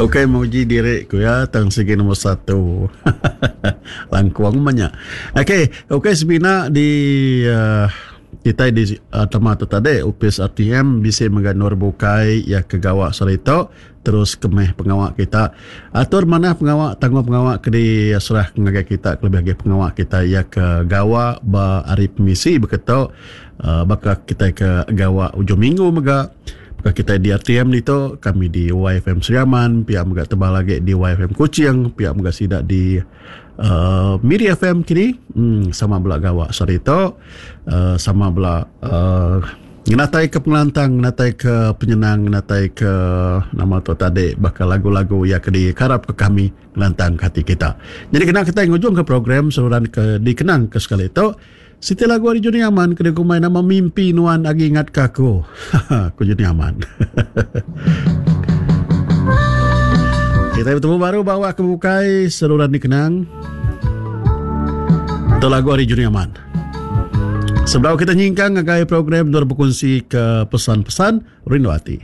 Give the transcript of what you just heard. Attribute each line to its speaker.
Speaker 1: Ukai muji diri ku iya tang sigi nombor satu. Langkung mah nya. Okey, ukai semina di uh, kitai di uh, tema tu tadi opis RTM bisi mega endur bukai iya ke gawa sehari tu terus ke meh pengawa kita. Atur manah pengawa tanggung pengawa ke diserah ngagai kita kelebih agi pengawa kita iya ke gawa ba hari pemisi beketu uh, baka kitai ke gawa ujung minggu mega. Baka kitai di RTM ditu, kami di YFM Sri Aman, pia mega tebal agi di YFM Kuching, pia mega sida di uh, Miri FM kini, hmm, sama bela gawa sehari tu, uh, sama bela uh, ngenatai ke pengelantang, ngenatai ke penyenang, ngenatai ke nama tu tadi baka lagu-lagu ya ke dikarap ke kami ngelantang ke hati kita. Jadi kena kita ngujung ke program seruran ke dikenang ke sekali tu. Siti lagu ari Juni Aman ke dikumbai nama Mimpi Nuan Agi Ingat Ke Aku. Ku Juni Aman. Kita bertemu baru bawa ke bukai seruran dikenang. Itu lagu ari Juni Aman. Sebelum kita nyingkang ngagai program endur bekunsi ke pesan-pesan rindu ati.